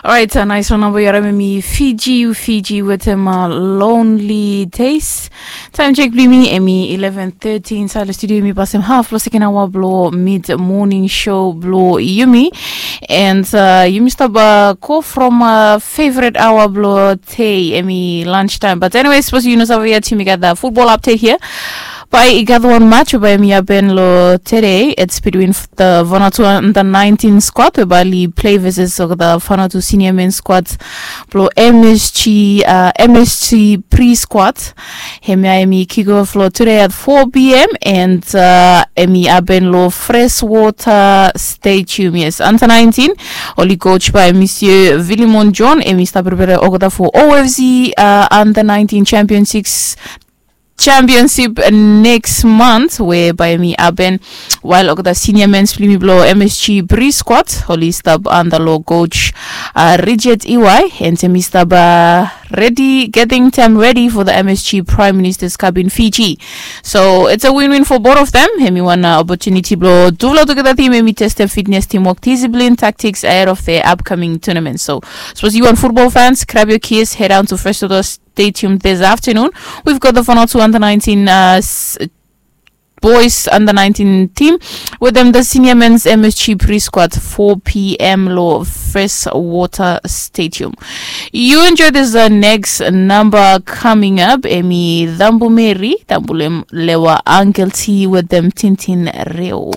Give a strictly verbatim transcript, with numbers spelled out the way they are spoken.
Orait, nais wan namba yu harim, em i Fiji, Fiji wetem Lonely Days. Taem jek blong yumi em i eleven thirty insaed long studio. Yumi pasem haf blong seken aoa blong mid moning show blong yumi. And yumi stap go from favorit aoa blong dei, em i lunch taem. But anyway, sapos yu no save yet, yumi gat the football update here. Bae i gat wan match we bae em i hapen long tede. It's between the Vanuatu under nineteen squad we bae oli plei versus olgeta Vanuatu senior men squad blong MSG, uh, MSG pre squad. Hemia em i kick off long tede at four p.m. and uh, em i hapen long Freshwater Stadium. Yes, under nineteen, oli coach by Monsieur Villimon John, em i stap prepare olgeta for OFC uh, under nineteen championships championship next month, whereby mi happen while olgeta senior men's blong yumi blong MSG pre squad oli stap under long coach uh, Richard Iwai, and hemi stap uh, ready, getting them ready for the MSG Prime Minister's Cup in Fiji. So it's a win-win for both of them. Hemi wan uh, opportunity blong tufala tugeta team hemi test them fitness, teamwork, discipline, tactics ahead of their upcoming tournament. So suppose you want football fans, grab your keys, head down to Fresh Stadium this afternoon. We've got the Vanuatu under nineteen uh, boys under nineteen team with them the senior men's MSG pre-squad four p.m. long Freshwater Stadium. You enjoy this uh, next number coming up. Emi Dambumeri, Dambulem Lewa Uncle T with them Tintin Reo.